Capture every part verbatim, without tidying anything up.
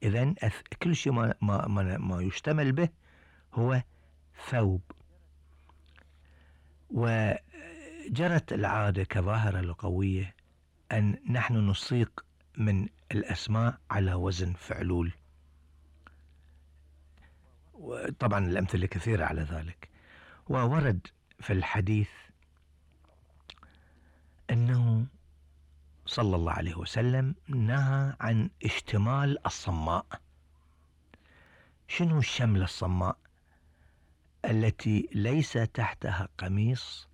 إذن كل شيء ما, ما, ما, ما يشتمل به هو ثوب. وجرت العادة كظاهرة لغوية أن نحن نصيغ من الأسماء على وزن فعلول، وطبعا الأمثلة كثيرة على ذلك. وورد في الحديث أنه صلى الله عليه وسلم نهى عن اشتمال الصماء. شنو الشملة الصماء؟ التي ليس تحتها قميص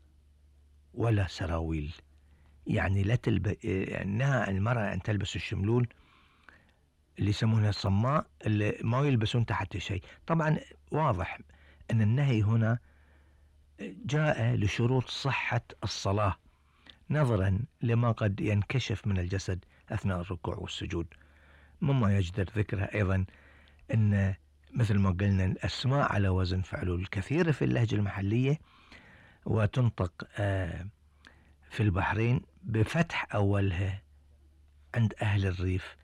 ولا سراويل، يعني لا تلب... نهى المرأة أن تلبس الشملول اللي يسمونها الصماء اللي ما يلبسون تحت شيء. طبعا واضح أن النهي هنا جاء لشروط صحة الصلاة نظرا لما قد ينكشف من الجسد أثناء الركوع والسجود. مما يجدر ذكرها أيضا أن مثل ما قلنا الأسماء على وزن فعلول كثيرة في اللهجة المحلية، وتنطق في البحرين بفتح أولها عند أهل الريف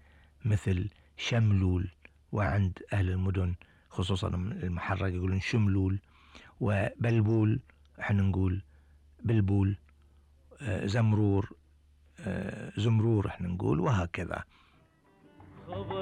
مثل شملول، وعند أهل المدن خصوصا المحرق يقولون شملول، وبلبول احنا نقول بلبول، زمرور زمرور احنا نقول، وهكذا.